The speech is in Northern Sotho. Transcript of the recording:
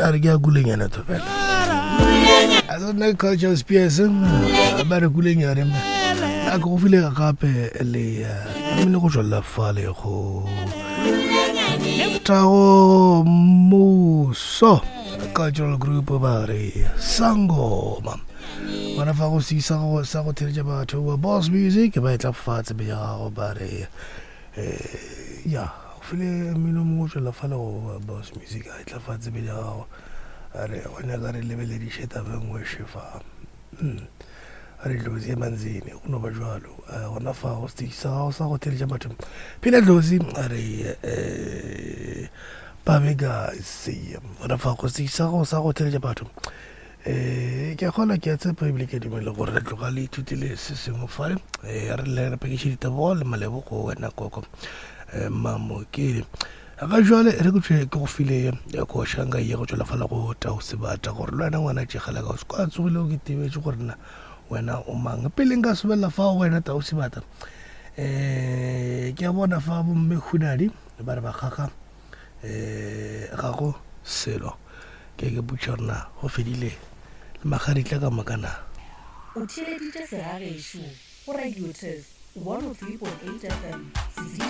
A re ke ya kulenyana thobela. A se nna culture spears ba re kulenyane. A ke go file gape le mmino go tswelela fale go Tago Muso Cultural Group ba re Sangoma. Gona fa go sisa go sa go theletša batho ba Boss Music ba etla fatshe be ya gago ba re eh ya go file mmino mongwe o tswelela fale go Boss Music a etla fatshe be ya gago a re go nyaka re lebelediše taba e nngwe šefa. Hmm. A re dlozi e manzini go no ba jwalo eh, gona fa go stage sa gago sa go theletša batho phela dlozi a re eh babegasi gona fa go stage sa gago sa go theletša batho um ke a kgona ke a tshepa ebile ke a dumela gore re tloga le ithutile se sengwe fale um re le re pakiše ditebogo le malebo go wena koko um mamokele ga jwale re ke tšwe ke go file košanga ye go tšwela fala go tau sebata gore le wena ngwana tšegela ka o se kwa tsogile o ke tebetše gore na wena o mang pele nka sobelela fa go wena tau sebata um ke a bona fa bomme hunadi ba re ba kgakga um ga go selo ke ke botša gore na go fedile le magaritla ka moka na. O theeleditše segagešo go Radio Turf 103.8 FM.